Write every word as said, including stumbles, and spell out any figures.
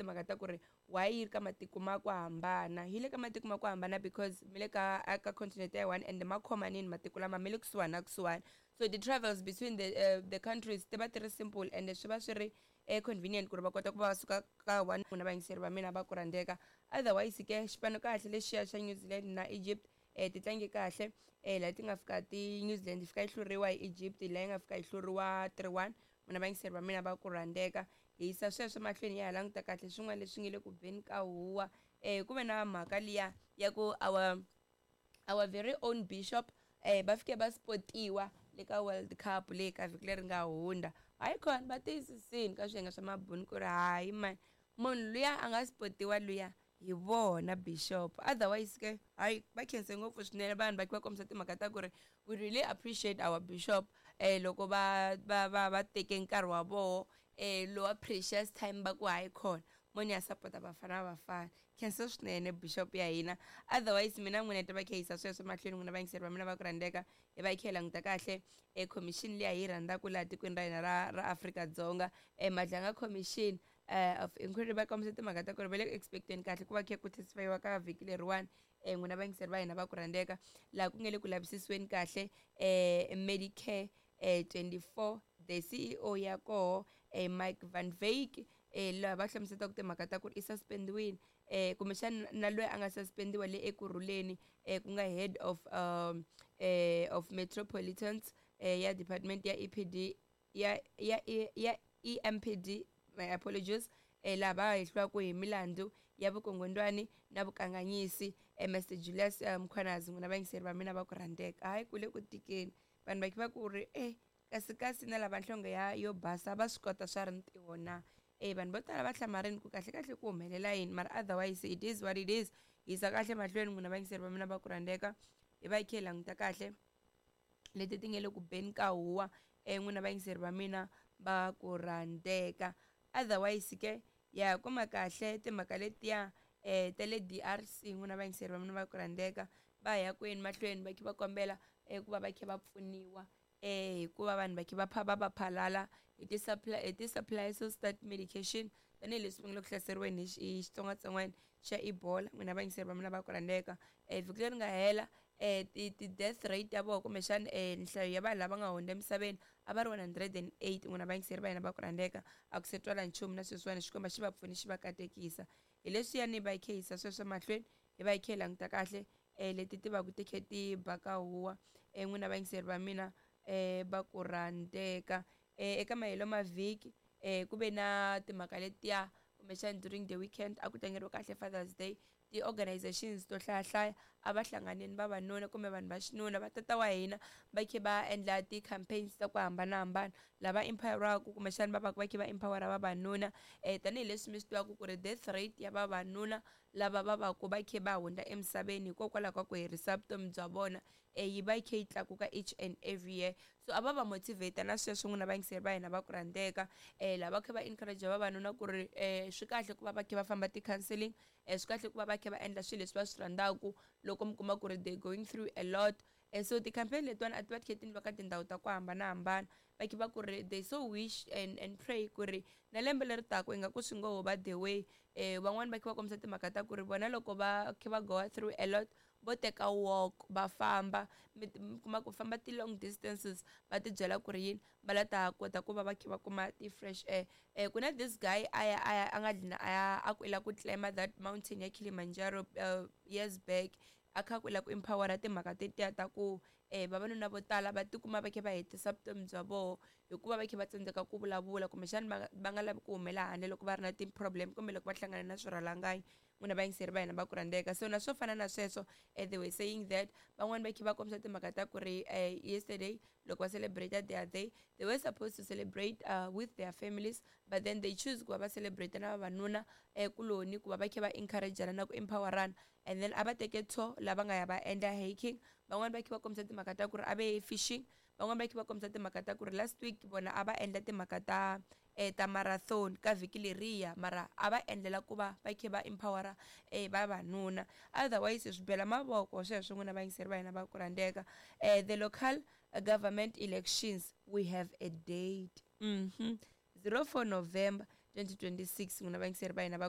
timhaka ta ku ri why yi ri ka matiko ma ku hambana yi le ka matiko ma ku hambana because mi le ka ka continent ya one and ma khomanini matiko lama mi le kusuhani na kusuhani so the travels between the uh, the countries ti va ti ri simple and swi va swi ri eh, convenient ku ri va kota ku va va suka ka one na vayingiseri va mina va ku rhandzeka otherwise ke xipano kahle lexiya xa New Zealand na Egypt eh ti tlange kahle eh laha ti nga fika ti New Zealand yi fika yi hluriwa hi Egypt laha yi nga fika yi hluriwa three one n'wina vayingiseri va mina va ku rhandzeka hi yisa sweswo mahlweni ya ha languta kahle swin'wana leswi nge le ku beni ka huwa eh ku ve na mhaka liya ya ku our our very own bishop eh va fike va spotiwa le ka world cup leyi ka vhiki leri nga hundza hayi khona va tiyisisini ka swiyenge swa mabuni ku ri hayi mani munhu luya a nga spotiwa luya hi vona bishop otherwise ke hayi va khense ngopfu swinene vanhu va va kombisa timhaka ta ku ri we really appreciate our bishop eh loko va va va va teke nkarhi wa voho eh lowa precious time va ku hayi khona moni ya sapota bafana bafana khensa swinene bishop ya hina otherwise mina n'wina ta va khayisa sweswo mahlweni n'wina vayingiseri va mina va ku rhandzeka hi va hi kha hi languta kahle e commission liya hi yi rhandzaka laha tikweni ra hina ra ra Afrika-Dzonga e Madlanga commission uh, of inquiry va kombisa timhaka ta ku ri va le ku expecteni kahle ku va kha ku testifyiwa ka vhiki leriwani um n'wina vayingiseri va hina va ku rhandzeka laha ku nge le ku lavisisiweni kahle um medicare eh twenty-four the C E O ya koho eh Mike Van Wyk eh laha va hlamuselaka timhaka ta ku ri i suspendiwile eh kumbexana na loyi a nga suspendiwa le Ekurhuleni eh ku nga head of um eh of metropolitans eh ya department ya E P D ya ya ya E M P D, my apologies, eh laha va hehliwaka hi milandzu ya vukungundwani na vukanganyisi eh Mister Julius eh, Mkhwanazi. N'wina vayingiseri va mina va ku rhandzeka, hayi ku le ku tikeni vanhu va va ku ri eh kasi kasi na lava nhlonge ya yo basa va swi kota swa rintiho na eh vanhu vo tala va hlamarini ku kahle kahle ku humelela yini, mara otherwise it is what it is. Yisa kahle mahlweni n'wina vayingiseri va mina va ku rhandzeka, hi va hi kha hi languta kahle leti ti nge le ku beni ka huwa eh n'wina vayingiseri va mina va ku rhandzeka. Otherwise ke ya kuma kahle timhaka letiya eh ta le D R C, n'wina vayingiseri va mina va ku rhandzeka, va ya kwini mahlweni va kha va kombela eh ku va va kha va pfuniwa eh hikuva vanhu va kha va pha va va phalala hi ti supply hi ti supplies ta medication tanihileswi va nga le ku hlaseriweni hi hi xitsongwatsongwana xa Ebola. N'wina vayingiseri va mina va ku rhandzeka, eh vhiki leri nga hela eh ti ti death rate ya vona kumbexana eh nhlayo ya vanhu lava nga hundza emisaveni a va ri one hundred and eight. N'wina vayingiseri va hina va ku rhandzeka, a ku se twala nchumu na sweswiwani, Xikwembu xi va pfuni xi va katekisa hi leswiyani va hi kha yisa sweswo mahlweni hi va hi kha hi languta kahle eh leti ti va ku ti kha ti ba ka huwa eh n'wina vayingiseri va mina eh va ku rhandzeka. eh eka mahelo mavhiki eh ku ve na timhaka letiya kumbexana during the weekend a ku tlangeriwa kahle Father's Day, ti-organizations to hlayahlaya a va hlanganini vavanuna kumbe vanhu va xinuna va tata wa hina va kha va endla ti-campaigns ta ku hambanahambana lava empoweraka kumbexana va va va kha va empowera vavanuna um tanihileswi mi swi tivaka ku ri death rate ya vavanuna lava va va ku va kha va hundza emisaveni hikokwalaho ka ku herisa vutomi bya vona um yi va yi kha yi tlakuka each and every year. So a va va motivate na sweswo n'wina vayingiseri va hina va ku rhandzeka um lava kha va encourage vavanuna ku ri um swi kahle ku va va kha va famba ti-counselling um swi kahle ku va va kha va endla swilo leswi va swi rhandzaka loko mi kuma ku ri they going through a lot um so ti-campaign letiwani a ti va ti kha ti endliwa ka tindhawu ta ku hambanahambana va kha va ku ri they so wish and, and pray ku ri na lembe leri taka ingaku swi ngo ho va the way um van'wani va kha va kombisa timhaka ta ku ri vona loko va kha va go through a lot vo teka walk va famba mi mi kuma ku famba ti-long distances va ti byela ku ri yini va la ta kota ku va va kha va kuma ti-fresh air um ku na this guy a ya a ya a nga dlina a ya a ku i la ku climb that mountain ya Kilimanjaro uh, years back a kha ku la ku empowera timhaka tetiya ta ku um vavanuna vo tala va tikuma va kha va hetisa vutomi bya voho hikuva va kha va tsandzeka ku vulavula kumbexana va va nga lavi ku humela handle loko va ri na ti-problem kumbe loko va hlangana na swirhalanganyi. N'wina vayingiseri va hina va ku rhandzeka, so na swo fana na sweswo eh, they were saying that van'wani va kha va kombisa timhaka ta ku ri eh, yesterday loko va celebrate their day, they were supposed to celebrate uh, with their families, but then they choose ku va va celebrate na vavanuna eh, kuloni ku va va kha va encourageana na ku empowerana. And then a va teke tour lava nga ya va endla hiking, van'wani va kha va kombisa timhaka ta ku ri a va ye fishing, van'wani va kha va kombisa timhaka ta ku ri last week vona a va endla timhaka ta eh, ta marathon ka vhiki leriya, mara a va endlela ku va va kha va empowera eh, vavanuna. Otherwise swi bela mavoko sweswo n'wina vayingiseri va hina va ku rhandzeka. eh, the local government elections, we have a date mm -hmm. zero four November twenty twenty-six. N'wina vayingiseri va hina va